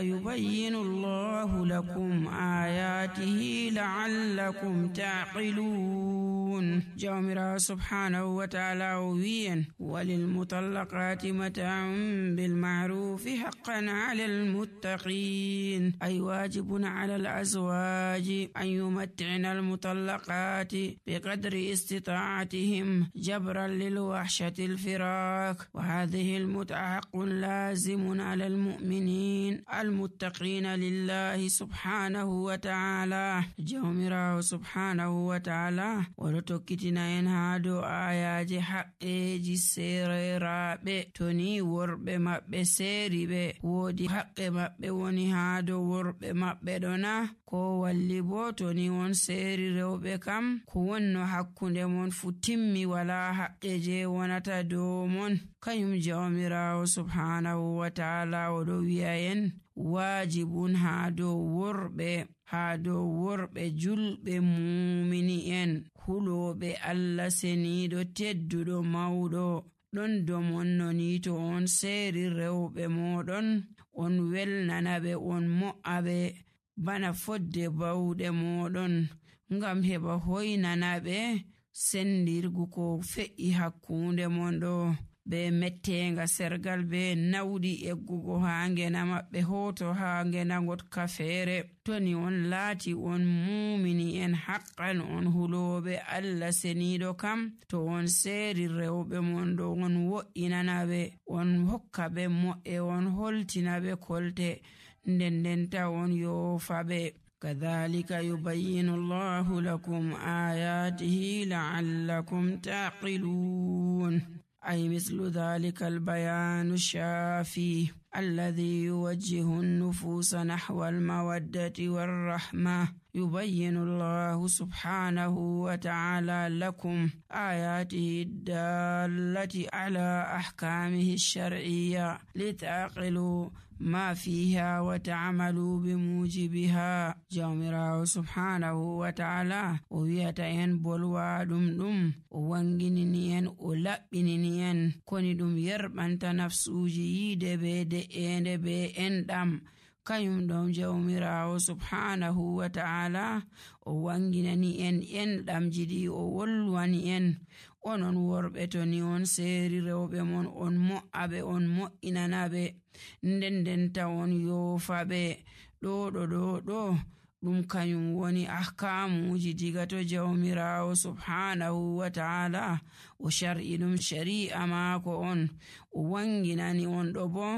يبين الله لكم آياته لعلكم تعقلون. جامرا سبحانه وتعالى وين وللمطلقات متاع بالمعروف حقا على المتقين، أي واجب على الأزواج أن يمتعن المطلقات بقدر استطاعتهم جبرا للوحشة الفراق، وهذه المتعة حق لازم على المؤمنين المتقين لله سبحانه وتعالى. جومرا سبحانه وتعالى ولتكتنا ينهادو آيات حقيجي سيري رابي توني ورب مبه سيري بي ودي حق مبه وني هادو ورب مبه دونا كو واللبو توني ون سيري روبي كم كونو حقو دمون فتمي ولا حقيجي ونتا دومون كيم جومرا سبحانه وتعالى ودوياين واجبون هادو وربه julɓe mumini'en huloɓe Allah seniiɗo tedduɗo mawɗo. ɗon domon noni to on seeri rewɓe moɗon on welnanaɓe on mo'aɓe bana fodde bawɗe moɗon ngam heɓa hoynanaɓe sendirgu ko fe'i hakkunde mon ɗo be mettenga sergal be nawdi eggugo haa ngena maɓɓe hoto haa ngena ngotka feere. toni on laati on mumini en haqqan on huloɓe Allah seniiɗo kam to on seeri rewɓe mon ɗo on wo'inanaɓe on hokkaɓe mo'e on holtinaɓe kolte ndendenta on yoofaɓe. كذلك يبين الله لكم آياته لعلكم تعقلون، أي مثل ذلك البيان الشافي الذي يوجه النفوس نحو المودة والرحمة. يبين الله سبحانه وتعالى لكم آياته الدالة على أحكامه الشرعية لتعقلوا ما فيها وتعملوا بموجبها. جامرا سبحانه وتعالى ويتين بلوا دم وانجنين ولبنين كندم يربنت نفسوجي دبي be endam kayum don jawmirawo subhanahu wa ta'ala o wanginani en endam jidi o wolwani en onon worbe to ni on seeri rewbe mon on mo'abe on mo'inanabe ndendenta on yofabe do ɗum kayum woni ahkamuji diga to jawmirawo subhanahu wa ta'ala o shar'i ɗum shari'a maako on o wanginani on ɗo bo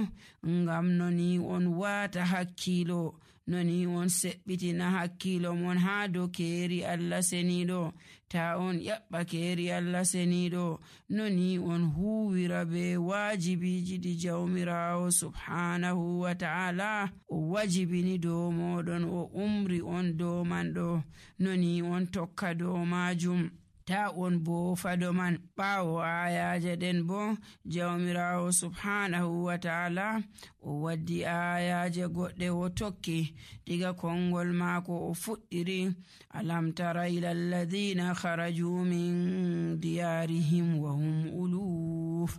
ngam noni on wata hakkilo noni on seɓɓitina hakkilo mon haa dow keeri Allah seniiɗo ta on ƴaɓɓa keeri Allah seniiɗo noni on huwira be waajibiji ɗi jawmirawo subhanahu wa ta'ala o wajibini dow moɗon o umri on dow man ɗo noni on tokka dow majum ta on bo fado man. ɓaawo ayaje den bo jawmirawo subhanahu wa ta'ala o waddi ayaje goɗɗe o tokki diga kongol maako o fuɗɗiri alam tara ila alladhina kharaju min diyarihim wa hum uluf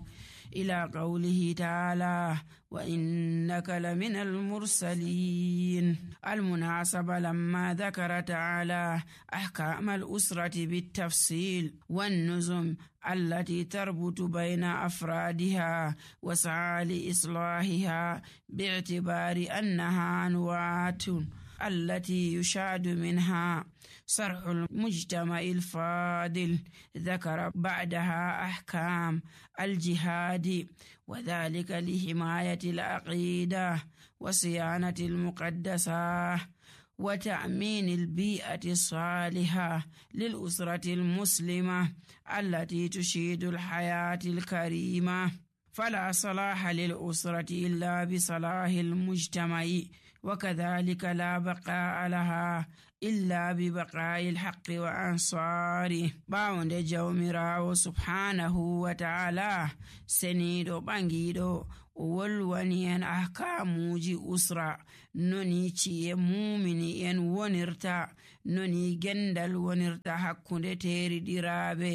إلى قوله تعالى وإنك لمن المرسلين. المناسبة لما ذكر تعالى أحكام الأسرة بالتفصيل والنظم التي تربط بين أفرادها وسعى لإصلاحها باعتبار أنها أنواع التي يشاهد منها صرح المجتمع الفاضل، ذكر بعدها أحكام الجهاد وذلك لحماية العقيدة وصيانة المقدسة وتأمين البيئة الصالحة للأسرة المسلمة التي تشيد الحياة الكريمة. فلا صلاح للأسرة إلا بصلاح المجتمع، وكذلك لا بقاء لها إلا ببقاء الحق وأنصاره. باوند جومراو سبحانه وتعالى سنيدو بانجيدو o wolwani en ahkamuji usra, noni ci'e mumini en wonirta, noni gendal wonirta hakkunde teriɗiraɓe,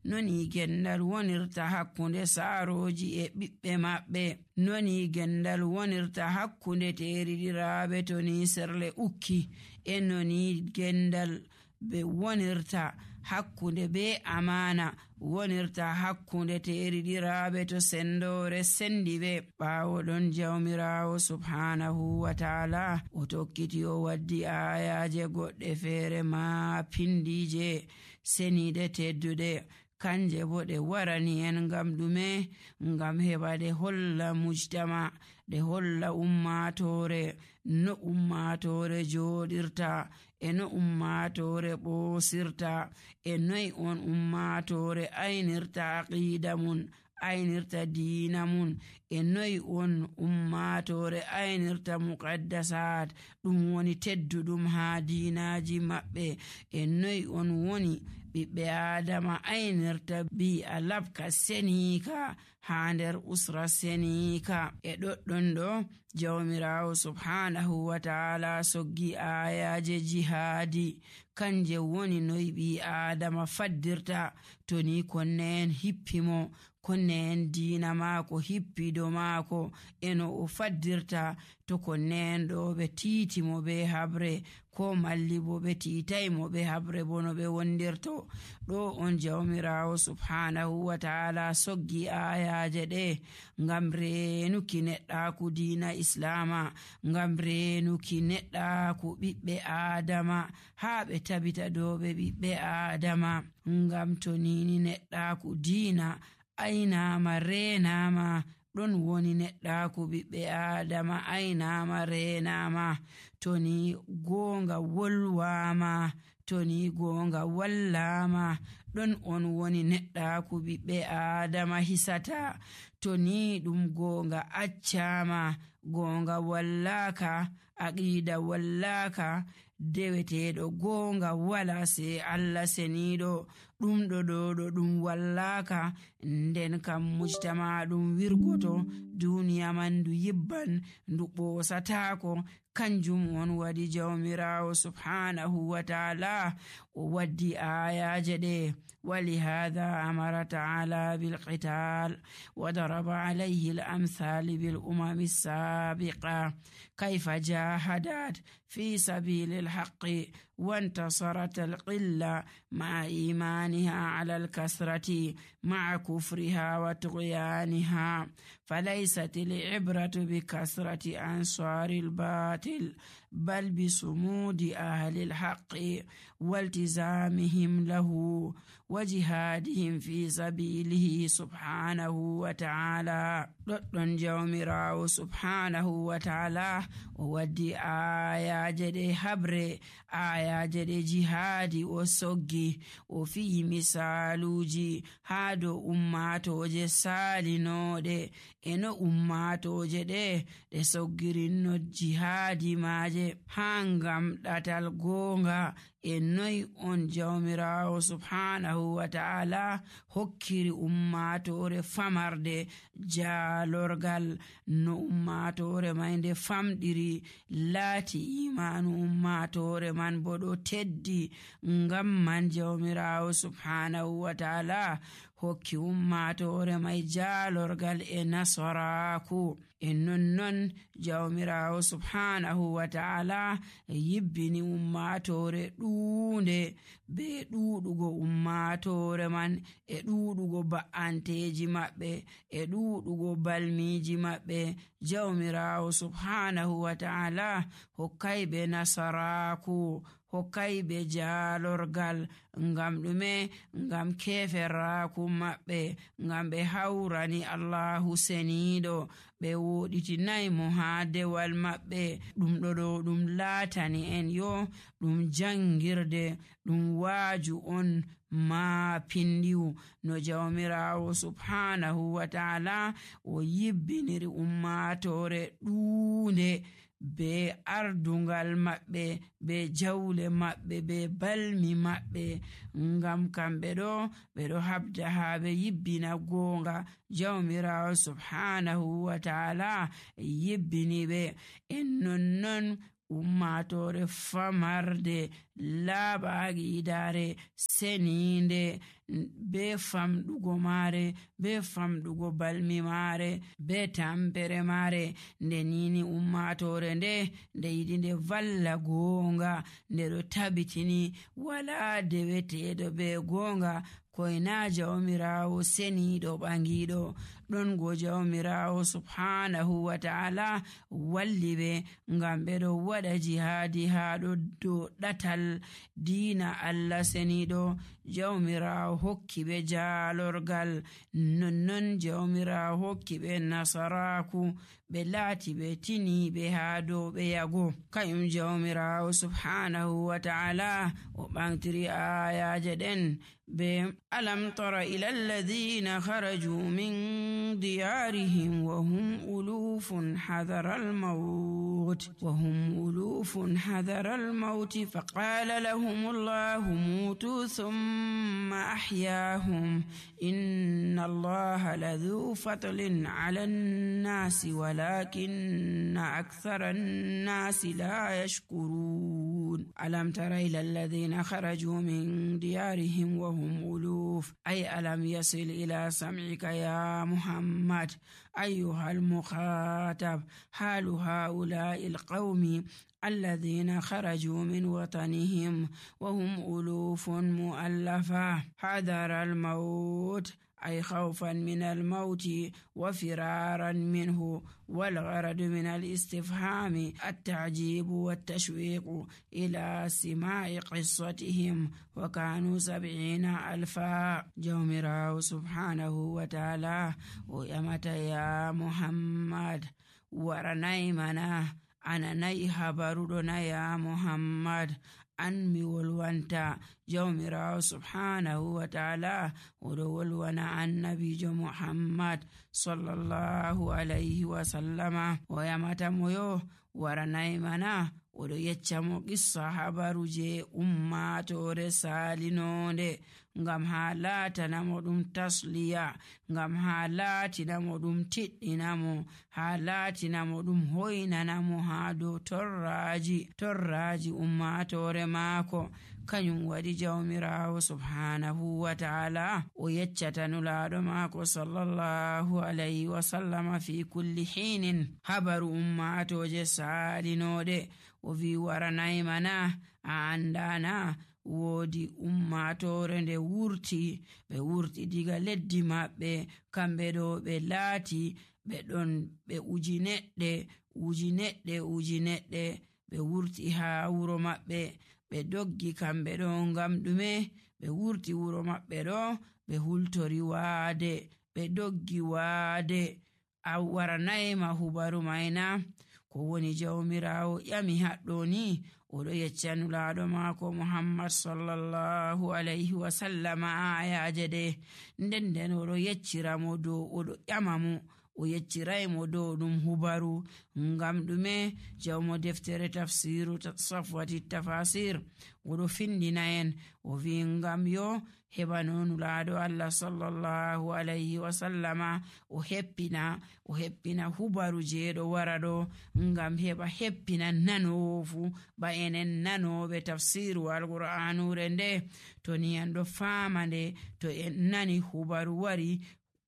noni gendal wonirta hakkunde saaroji e ɓiɓɓe maɓɓe, noni gendal wonirta hakkunde teriɗiraɓe to ni serle ukki, e noni gendal be wonirta hakkunde be amana wonirta hakkunde teriɗiraɓe to sendore sendi ɓe. ɓawo ɗon jawmirawo subhanahu wa ta'ala o tokkiti o waddi ayaje goɗɗe feere ma pindije senide teddude, kanje bo ɗe warani en ngam ɗume? Ngam heɓa ɗe holla mujtama, ɗe holla ummatore no ummatore joɗirta, e no ummatore ɓosirta, e noy on ummatore aynirta aqida mun, aynirta diina mun, e noy on ummatore aynirta muqaddasat ɗum woni tedduɗum ha diinaji maɓɓe, e noy on woni ɓiɓɓe adama aynirta bi a labka senika ha nder usra senika. E ɗoɗɗon ɗo jawmirawo subhanahu wa ta'ala soggi ayaje jihadi, kanje woni noy ɓi adama faddirta to ni konne en hippimo, konne en diina maako hippido maako, eno o faddirta to konne en ɗo ɓe tiitimo be habre, ko malli bo ɓe tiitaymo be habre bo no ɓe wondirto. ɗo on jawmirawo subhanahu wa ta'ala soggi ayaje ɗe ngam reenuki neɗɗaku diina islama, ngam reenuki neɗɗaku ɓiɓɓe adama, haa ɓe tabita dow ɓe ɓiɓɓe adama. Ngam to nini neɗɗaku diina aynama reenama, ɗon woni neɗɗaku ɓiɓɓe adama aynama reenama, to ni gonga wolwama, to ni gonga wallama, ɗon on woni neɗɗaku ɓiɓɓe adama hisata, to ni ɗum gonga accama, gonga wallaka, aqida wallaka, deweteɗo gonga wala se Allah seniɗo, ɗum ɗo ɗum wallaka, nden kam mujtama ɗum wirgoto, duniya man ndu yibban ndu ɓosatako. Kanjum on waɗi jawmirawo subhanahu wa ta'ala o waddi ayaje ɗe. ولهذا أمر تعالى بالقتال وضرب عليه الأمثال بالأمم السابقة كيف جاهدت في سبيل الحق وانتصرت القلة مع إيمانها على الكثرة مع كفرها وطغيانها. فليست العبرة بكثرة أنصار الباطل بل بصمود أهل الحق والتزامهم له وجهادهم في سبيله سبحانه وتعالى. ɗoɗɗon jawmirawo subhanahu wa ta'ala o waddi ayaje ɗe habre, ayaje ɗe jihadi o soggi, o fiyi misaluji ha dow ummatoje salinoɗe, e no ummatoje ɗe ɗe soggirinno jihadi maje ha ngam ɗatal gonga, e noy on jawmirawo subhanahu wa ta'ala hokkiri ummatore famarde jalorgal, no ummatore man nde famɗiri laati imanu ummatore man bo ɗo teddi. Ngam man jawmirawo subhanahu wa ta'ala hokki ummatore may jalorgal e nasaraku. E nonnon jawmirawo subhanahu wa ta'ala yibbini ummatore ɗuunde be ɗuɗugo ummatore man, e ɗuɗugo ba'anteji maɓɓe, e ɗuɗugo balmiji maɓɓe. Jawmirawo subhanahu wa ta'ala hokkayɓe nasaraku, hokkayɓe jalorgal. Ngam ɗume? Ngam keferraku maɓɓe, ngam ɓe hawrani Allahu seniɗo, ɓe woɗitinaymo ha dewal maɓɓe. ɗum ɗo ɗum laatani en yo ɗum jangirde, ɗum waaju on ma pindiwu no jawmirawo subhanahu wa ta'ala o yibbiniri ummatore ɗuunde be ardungal maɓɓe be jawle maɓɓe be balmi maɓɓe, ngam kamɓe ɗo ɓe ɗo habda haa ɓe yibbina goonga. Jawmirawo subhanahu wa ta'ala yibbini ɓe. En nonnon ummatore famarde laaɓaaqidare seninde be famɗugo maare be famɗugo balmi maare be tampere maare, nde nini ummatore nde yiɗi nde valla goonga, nde ɗo tabitini wala deweteɗo be goonga koyna jawmirawo seniɗo ɓangiɗo. ɗon go jawmirawo subhanahu wa ta'ala walli ɓe ngam ɓe ɗo waɗa jihadi haa ɗo dow ɗatal diina Allah seniɗo. Jawmirawo hokki ɓe jaalorgal, nonnon jawmirawo hokki ɓe nasaraku, ɓe laati ɓe tini ɓe haa dow ɓe yago. Kayum jawmirawo subhanahu wa ta'ala o ɓantiri ayaje ɗen be alam tara ila alladhina kharaju min diyarihim wa hum ulufun hadara al-maut faqala lahum Allahu mutu thumma ahyahum inna Allaha ladhu fadlin ala an-nasi walakinna akthara an-nasi la yashkurun. Alam tara ila alladhina kharaju min diyarihim wa hum uluf ay alam yasil ila sam'ika ya Muhammad أيها المخاطب حال هؤلاء القوم الذين خرجوا من وطنهم وهم ألوف مؤلفة حذر الموت أي خوفا من الموت وفرارا منه. والغرض من الاستفهام التعجيب والتشويق إلى سماع قصتهم، وكانوا 70,000. جومراو سبحانه وتعالى ويمت يا محمد ورناي منا أنا ناي خبرنا يا محمد an mi wolwanta. Jawmirawo subhanahu wa ta'ala oɗo wolwana annabijo Muhammad sallallahu alayhi wa sallama, o yamata mo yo waranay mana oɗo yecca mo qissa habaru je ummatore salinonde, ngam ha latanamo ɗum tasliya, ngam ha latinamo ɗum tiɗɗinamo, ha latinamo ɗum hoynanamo ha dow torraji ummatore maako. Kanyum waɗi jawmirawo subhanahu wa ta'ala o yeccata nulaɗo maako sallallahu alayhi wa sallama fi kulli hinin habaru ummatoje salinoɗe, o wi waranay mana a andana woodi ummatore nde ɓe wurti diga leddi maɓɓe, kamɓe ɗo ɓe laati ɓe ɗon ɓe ujineɗɗe ɓe wurti ha wuro maɓɓe, ɓe doggi kamɓe ɗo ngam ɗume? ɓe wurti wuro maɓɓe ɗo ɓe hultori waade, ɓe doggi waade. A waranayma hubaru mayna? Ko woni jawmirawo ƴami haɗɗo ni oɗo yecca nulaɗo maako Muhammad sallallahu alayhi wa sallama ayaje ɗe, nden oɗo yecciramo dow oɗo ƴama mo o yecciraymo dow ɗum hubaru. Ngam ɗume? jawmo deftere tafsiru safwati tafasir oɗo findina en o wi ngam yo heɓano nulaɗo Allah sallallahu alayhi wa sallama o heppina hubaru jeɗo wara ɗo, ngam heɓa heppina nanowo fu ba enen nanoɓe tafsiru alqur'anure nde. To ni en ɗo fama nde, to en nani hubaru wari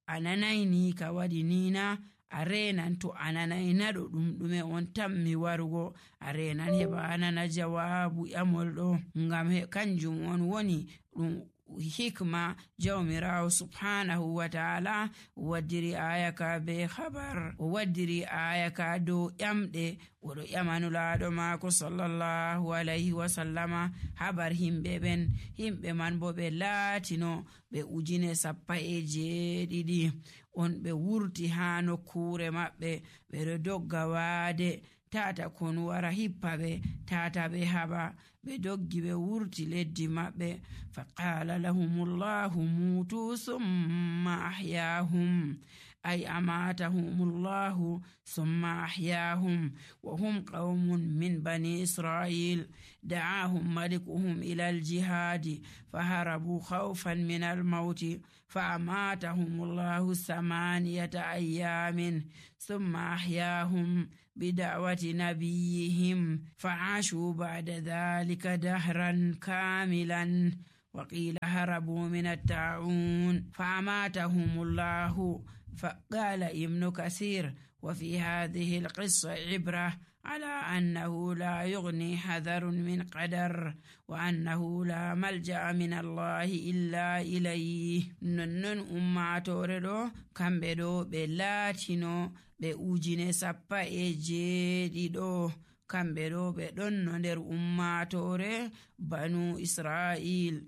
ananayni ka waɗi nina, a renan to ananayna ɗo ɗum ɗume on tammi warugo, a renan heɓa anana jawabu ƴamol ɗo. Ngam kanjum on woni ɗum hikma jawmirawo subhanahu wa ta'ala waddiri aya ka be habar, o waddiri aya ka dow ƴamɗe, oɗo ƴamanulaɗo maako sallallahu alayhi wa sallama habar himɓe man bo ɓe laatino ɓe 17,000 on ɓe wurti ha nokkure maɓɓe, ɓeɗo dogga waade tata kon wara hippa ɓe, tata ɓe haɓa, ɓe doggi ɓe wurti leddi maɓɓe. Faqala lahumullahu mutu thumma ahyahum أي أماتهم الله ثم أحياهم وهم قوم من بني إسرائيل دعاهم ملكهم إلى الجهاد فهربوا خوفا من الموت فأماتهم الله 8 أيام ثم أحياهم بدعوة نبيهم فعاشوا بعد ذلك دهرا كاملا. وقيل هربوا من الطاعون فأماتهم الله. فقال ابن كثير: وفي هذه القصة عبرة على أنه لا يغني حذر من قدر وأنه لا ملجأ من الله إلا إليه. ننن أماتورو كمبدو بلاتينو بأوجين سبا إجيدو كمبدو بدون ندر أماتوري بنو إسرائيل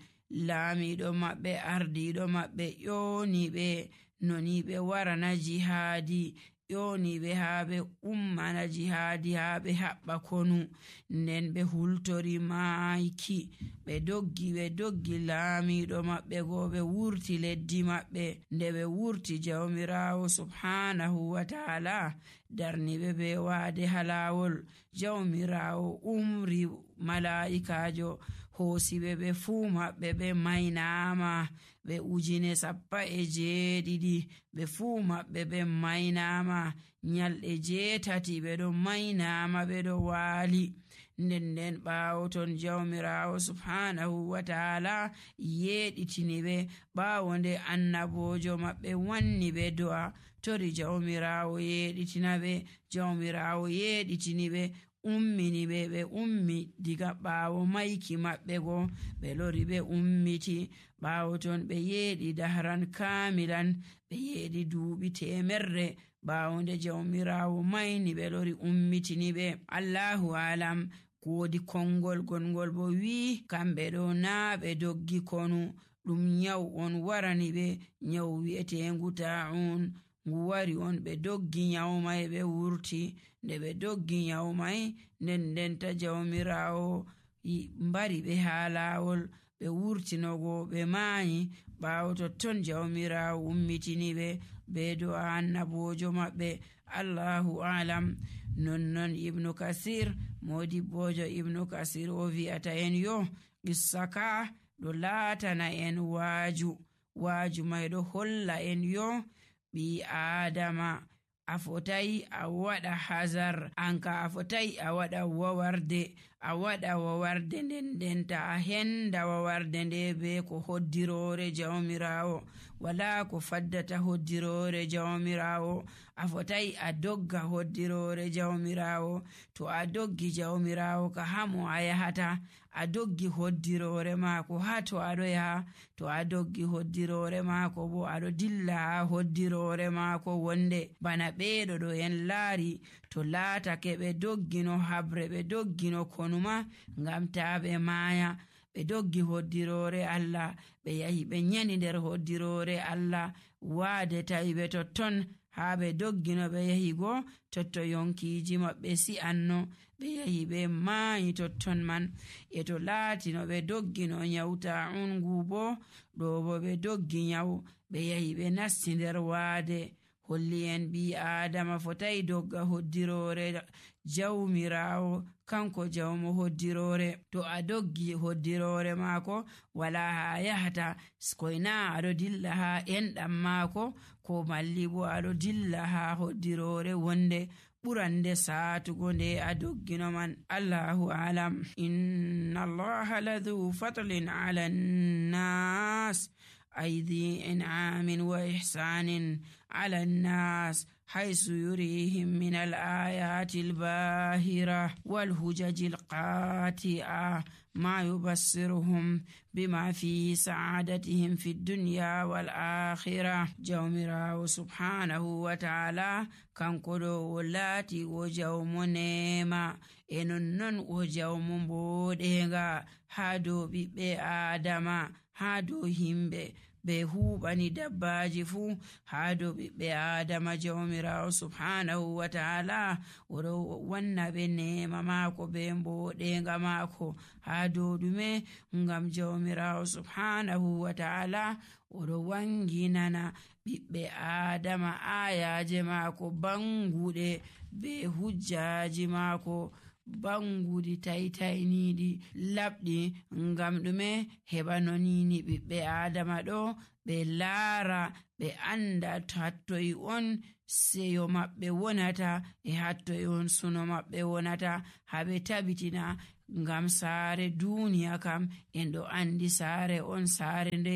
laamiɗo maɓɓe ardiɗo maɓɓe ƴooniɓe noni ɓe warana jihaadi ƴooniɓe haa ɓe ummana jihaadi haa ɓe haɓɓa konu nden ɓe hultori maayki ɓe doggi laamiɗo maɓɓe goo ɓe wurti leddi maɓɓe. Nde ɓe wurti jawmirawo subhanahu wa ta'ala darniɓe be waade halawol. Jawmirawo umri mala'ikajo hoosiɓe ɓe fuu maɓɓe ɓe maynama ɓe 7,000 ɓe fuu maɓɓe ɓe maynama nyalɗe 8 ɓe ɗo maynama ɓe ɗo waali. nden ɓaawo ton jawmirawo subhanahu wa ta'ala yeɗitini ɓe ɓaawo nde annabojo maɓɓe wanni ɓe do'a tori jawmirawo yeɗitina ɓe. Jawmirawo yeɗitini ɓe ummini ɓe ummi diga ɓaawo mayki maɓɓe go ɓe lori ɓe ummiti. ɓaawo ton ɓe yeeɗi dahran kamilan ɓe yeeɗi duuɓi 100 ɓaawo nde jawmirawo mayni ɓe lori ummitini ɓe. Allahu alam woodi kongol gongol bo wi kamɓe ɗo naa ɓe doggi konu ɗum nyawu on warani ɓe, nyawu wi'etengu ta'un ngu wari on ɓe doggi nyawu may ɓe wurti. Nde ɓe doggi nyawu may nden ta jawmirawo mbari ɓe haa laawol ɓe wurtinogo ɓe maayi. ɓaawo totton jawmirawo ummitini ɓe be do'a annabojo maɓɓe. Allahu alam. nonnon ibnu kasir modibbojo ibnu kasir o wi'ata en yo qissa ka ɗo laatana en waaju may ɗo holla en yo ɓi adama a fotai a waɗa hazar anka a fotai a waɗa wawarde nden ta a henda wawarde nde be ko hoddirore jawmirawo wala ko faddata hoddirore jawmirawo. a fotai a dogga hoddirore jawmirawo. to a doggi jawmirawo ka hamo a yahata, a doggi hoddirore maako ha to aɗo yaha. to a doggi hoddirore maako bo aɗo dilla ha hoddirore maako wonde. bana ɓeeɗo ɗo en laari to laatake ɓe doggino habre ɓe doggino konuma ngam ta ɓe maaya. ɓe doggi hoddirore Allah ɓe yahi ɓe nyani nder hoddirore Allah waade tawi ɓe totton haa ɓe doggino ɓe yahi go totto yonkiji maɓɓe si'anno ɓe yahi ɓe maayi totton man. e to laatino ɓe doggino nyawta ungu bo ɗo bo ɓe doggi nyawu ɓe yahi ɓe nasti nder waade. holli en ɓi adama fotai dogga hoddirore jawmirawo kanko jawmo hoddirore. to a doggi hoddirore maako wala ha yahata koyna aɗo dilla ha enɗam maako ko malli bo aɗo dilla ha hoddirore wonde ɓurande saatugo nde a doggino man. Allahu alam. inna allaha ladhu fatlin ala nnas أي ذي إنعام وإحسان على الناس حيث يريهم من الآيات الباهرة والهجج القاطعة ما يبصرهم بما في سعادتهم في الدنيا والآخرة. جومراو سبحانه وتعالى كان كدو ولاتي وجوم نيما إنن وجوم بوديغا هادو بي آدما هادو همبي be huɓani dabbaji fuu haa dow ɓiɓɓe adama. jawmirawo subhanahu wa ta'ala oɗo wanna ɓe nema maako be mboɗenga maako haa dow ɗume ngam jawmirawo subhanahu wa ta'ala oɗo wanginana ɓiɓɓe Adama ayaje maako banguɗe be hujjaji maako banguɗi taitayniɗi labɗi ngam ɗume heɓa nonini ɓiɓɓe Adama ɗo ɓe laara ɓe anda hattoy on seyo maɓɓe wonata e hattoy on suno maɓɓe wonata, haɓe tabitina ngam saare duniya kam en ɗo andi saare on saare nde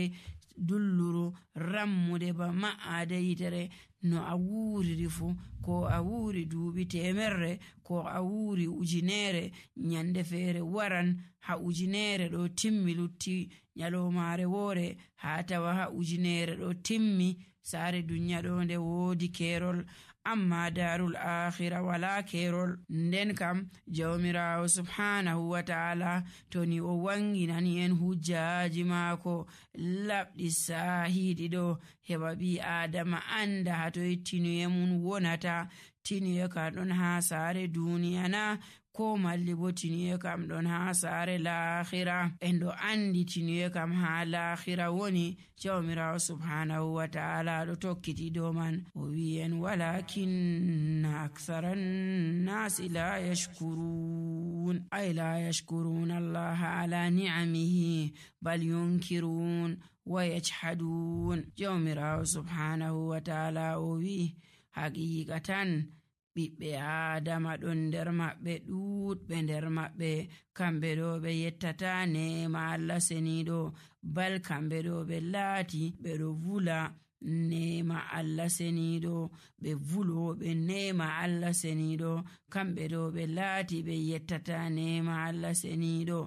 dulluru rammude ba ma'ade yitere. No a wuriri fu, ko a wuri duuɓi temerre, ko a wuri ujinere, nyande feere waran ha ujinere ɗo timmi lutti nyalomare woore ha tawa ha ujinere ɗo timmi. Saare dunya ɗo nde woodi kerol, amma darul akhira wala kerol. Nden kam jawmirawo subhanahu wa ta'ala to ni o wanginani en hujjaji maako labɗi sahiɗi ɗo heɓa ɓi Adama anda hatoy tinuye mun wonata. Tinuye kam ɗon ha saare duniya na, ko malli bo tinuye kam ɗon ha saare lahira. En ɗo andi tinuye kam ha lahira woni. Jawmirawo subhanahu wa ta'ala ɗo tokkiti dow man o wi en walakinna aktharan nasi la yashkurun, ay la yashkurun Allah ala ni'amihi bal yunkirun wa yajhadun. Jawmirawo subhanahu wa ta'ala o wi haqiqatan ɓiɓɓe Adama ɗon nder maɓɓe ɗuɗɓe nder maɓɓe kamɓe ɗo ɓe yettata nema Allah seniɗo, bal kamɓe ɗo ɓe laati ɓe ɗo vula nema Allah seniɗo, ɓe vuloɓe nema Allah seniɗo. Kamɓe ɗo ɓe laati ɓe yettata nema Allah seniɗo,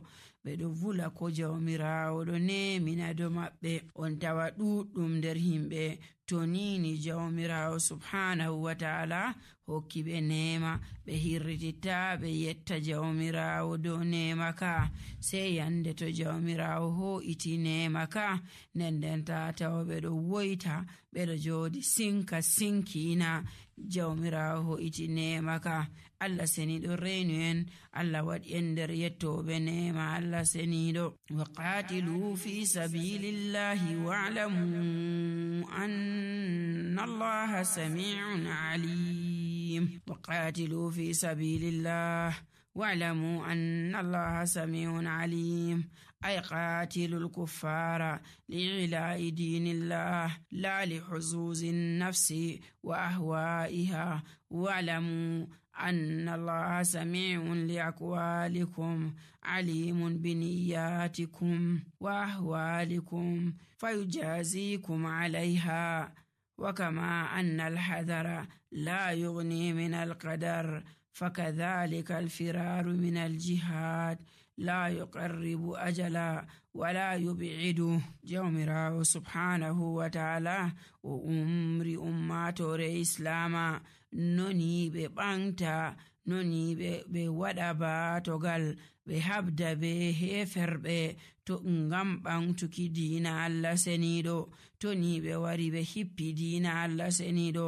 ɓe ɗo vula ko jawmirawo ɗo nemina do maɓɓe. On tawa ɗuɗɗum nder himɓe to nini jawmirawo subhanahu wa ta'ala hokki ɓe nema, ɓe hirrititta ɓe yetta jawmirawo dow nema ka. Sei yande to jawmirawo ho'iti nema ka, nden ta tawa ɓe ɗo woita ɓe ɗo jodi sinka sinkina. Jawmirawo ho'iti nema ka. Allah seniɗo reinu en, Allah waɗi en nder yettoɓe nema Allah seniɗo. Wa qatilu fi sabilillahi wa'lamu anna Allaha sami'un alim. Wa qatilu fi sabilillah wa'lamu anna Allaha sami'un alim. أي قاتلوا الكفار لإعلاء دين الله لا لحظوظ النفس وأهوائها واعلموا أن الله سميع لأقوالكم عليم بنياتكم وأهوالكم فيجازيكم عليها. وكما أن الحذر لا يغني من القدر فكذلك الفرار من الجهاد لا يقرب أجلا ولا يبعده. جومراو سبحانه وتعالى وأمري أماتور إسلاما noni ɓe ɓanta, noni ɓe waɗa batogal, ɓe habda be heferɓe to ngam ɓantuki diina Allah seniɗo. To ni ɓe wari ɓe hippi diina Allah seniɗo,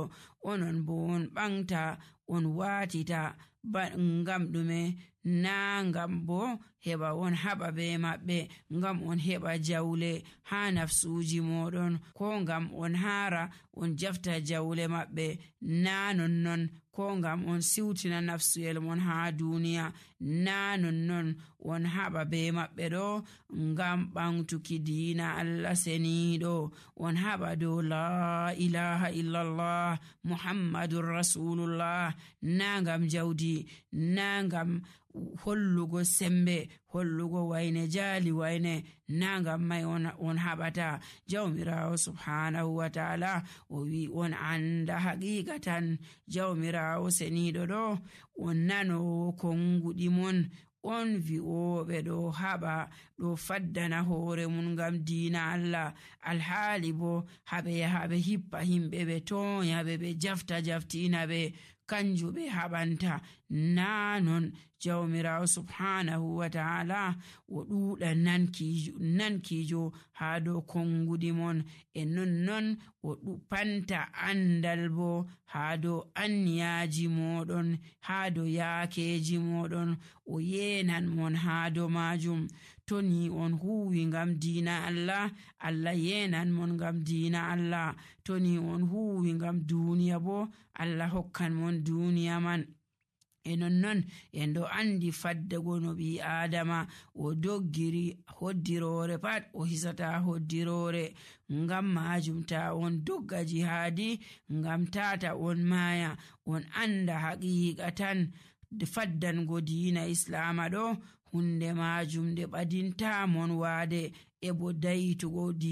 onon bo on ɓanta on watita ngam ɗume? Na ngam bo heɓa on haɓa be maɓɓe, ngam on heɓa jawle ha nafsuji moɗon, ko ngam on hara on jafta jawle maɓɓe, na nonnon. Ko ngam on siwtina nafsuyel mon ha duniya, na nonnon. On haɓa be maɓɓe ɗo ngam ɓantuki diina Allah seniɗo. On haɓa dow la ilaha illallah muhammadun rasulullah, na ngam jawdi, na ngam hollugo sembe, hollugo wayne jali wayne, na ngam mai on haɓata. Jawmirawo subhanahu wa ta'ala o wi on anda haqiqatan jawmirawo seniɗo ɗo on nanowo konguɗi mon, on vi'oɓe ɗo haɓa ɗo faddana hoore mun ngam diina Allah, alhaali bo haɓe yaha ɓe hippa himɓe ɓe toya ɓe jaftina ɓe, kanju ɓe haɓanta. Na non jawmirawo subhanahu wa ta'ala o ɗuuɗa nankijo haa dow kongudi mon, e non o panta andal bo haa dow anniyaji moɗon, haa dow yaakeji moɗon, o yenan mon haa dow majum. To ni on huwi ngam diina Allah, Allah yenan mon ngam diina Allah. To ni on huwi ngam duniya bo, Allah hokkan mon duniya man. E non en ɗo andi faddago no ɓi adama o doggiri hoddirore pat o hisata hoddirore. Ngam majum ta on dogga jihadi, ngam tata on maya, on anda haqiqa tan faddango diina islama ɗo hunde majum nde ɓadinta mon waade e bo dayitugo diina